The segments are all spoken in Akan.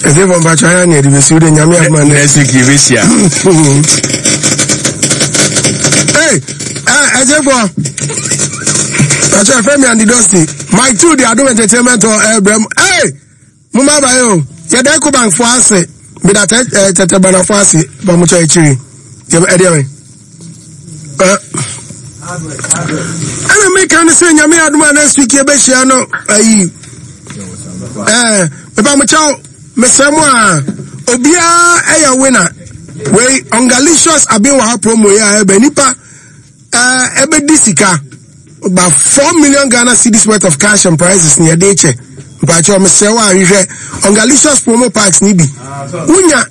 Ɛsɛ fɔ mpatsɔ ayɛ ni ɛdi bɛ si o de nyame aduma ne. Next week yɛ bɛ si a. Ee ɛ ɛsɛ fɔ mpatsɔ ɛfɛ mi Andy Dosty Mike two de Adum Entertainment hɔ ɛbrɛ mu ee mo ma ba yi o yɛ dɛ Ecobank fo ase mi da tɛ ɛ tɛtɛ bana fo ase bɔn mo kyɛ akyiri yɛ ɛdeɛ mi. Ɛna meka no sɛ nyame adom a next week yɛbɛhyia no ayi ɛɛ meba mo kyɛw mesrɛ mo a obiara ɛyɛ winner wei ungalicious aben wɔ ha promo yi a ɛbɛ nipa ɛɛ ɛbɛdi sika about 4 million Ghana cedis worth of cash and prizes ne yɛde kyɛ. Mpakyɛw mesrɛ wo a hwehwɛ ungalicious promo packs ne bi wonya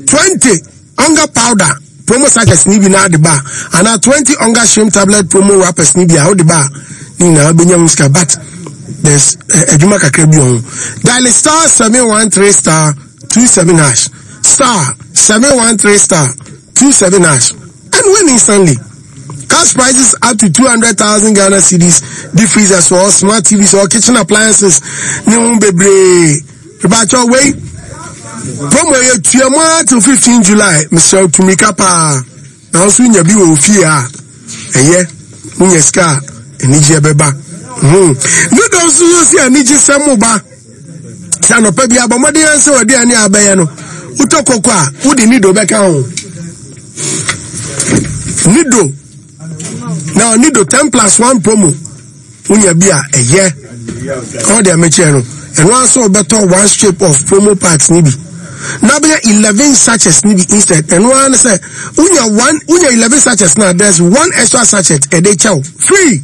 20 Onga powder promo sachets ni bi na ade ba anaa 20 Onga shrimp tablet promo wrappers ni bi a wode ba a ne nyinaa wobɛnya ho sika, but there's adwuma kakra bi wɔ ho. Dial *713*27#, *713*27# and win instantly. Cash prizes up to 200,000 Ghana cedis, deep freezers or smart TVs or kitchen appliances ne ho bebree. Mepakyɛw wei promo yɛ tua mu ara till 15 July. Mesrɛ wo tumirika paa na nso nya bi wɔ ofie a ɛyɛ wonya sika a anigyeɛ bɛba. Noodles nso so si anigye sɛm mo ba sɛ anɔpa bi abɔ mmɔden ara sɛ w'aduane a abɛyɛ no wotɔ koko a wode nido bɛka ho. Nido na nido 10 plus 1 promo wonya bi a ɛyɛ ɔwɔ deɛ mekyerɛ no ɛno ara sɛ ɔbɛtɔ one strip of promo packs ni bi na bɛyɛ 11 sachets ni bi instead. Ɛno ara ne sɛ wonya one, wonya 11 sachets na there's one extra sachet ɛde kyɛw free.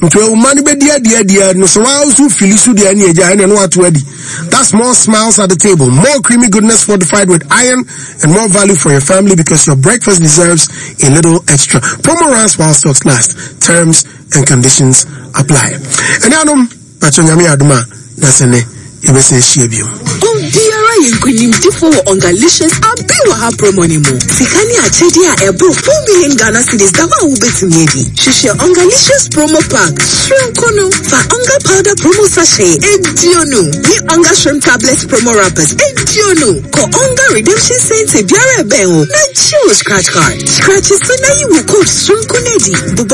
Nti ɔma no bɛdi adi adi no sɛ waa nso fili so deɛ ɛne agya ɛne ɛno ato adi. That's more smiles at the table, more creamy goodness fortified with iron and more value for your family, because your breakfast deserves a little extra. Promo runs while stocks last. Terms and conditions apply. Ɛne anom patro nyame adom a na sɛ nɛ yɛbɛsɛ ahyia bio. Obiara yɛ nkonimdifo wɔ Ongalicious Abi Wɔ Ha promo no mu. Sika ne akyɛdeɛ a ɛboro 4 million Ghana cedis da hɔ a wobɛtumi adi. Hwehwɛ Ongalicious promo pack soronko no. Fa Onga powder promo sachet 20 ne Onga shrimp tablet promo wrappers 20. Kɔ Onga redemption center biara ɛbɛn wo na gye wo scratch card. Scratch so na yi wo code soronko no adi. Bobɔ